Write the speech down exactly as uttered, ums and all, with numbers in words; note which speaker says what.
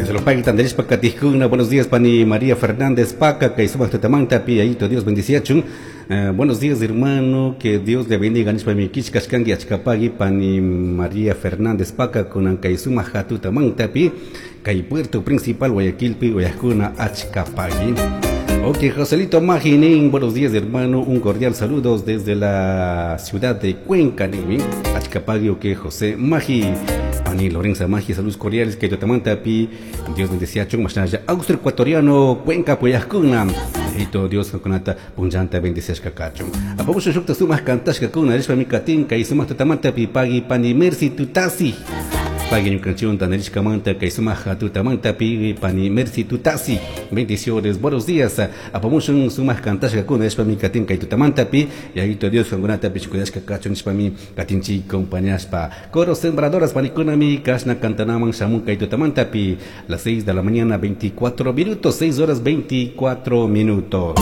Speaker 1: Pagui tandarishpa katijkuna. Buenos días, pani María Fernández Paca, kay sumak tutamanta pi Yayito Dios bendiciachun. Uh, buenos días, hermano, que Dios le bendiga. Nishpa mi kishkashkanki achkapagui pani María Fernández Paca kunan kay sumak tutamanta pi kay puerto principal Guayaquilpi uyajkuna achkapagui. Ok, Joselito Maginin, buenos días, hermano, un cordial saludo desde la ciudad de Cuenca, ninmi. Achkapagui, ok, José Magi. Pani Lorenza Magi, saludos cordiales, kay tutamanta pi Dios bendeciachun, mashnalla Austro Ecuatoriano, Cuenca, uyajkuna. Yayito Dios kankunata punllanta bendiciashka kachun. Apamushun shukta sumak kantashkakuna, rishpa mi katin, kay sumak tutamanta pi pagui pani Mercy Tutasi. Pagui ñukanchikwan tandarishkamanta kay sumak tutamanta pi pani Mercy Tutasi. Bendiciones, buenos días. Apamushun sumak kantashkakuna, rishpa mi katin kay tutamanta pi Yayito Dios kankunata cuidashka kachun nishpa mi katinchik compañashpa. Coro Sembradoras panikunami kashna kantanaman shamun kay tutamanta pi las seis de la mañana veinticuatro minutos, seis horas veinticuatro minutos.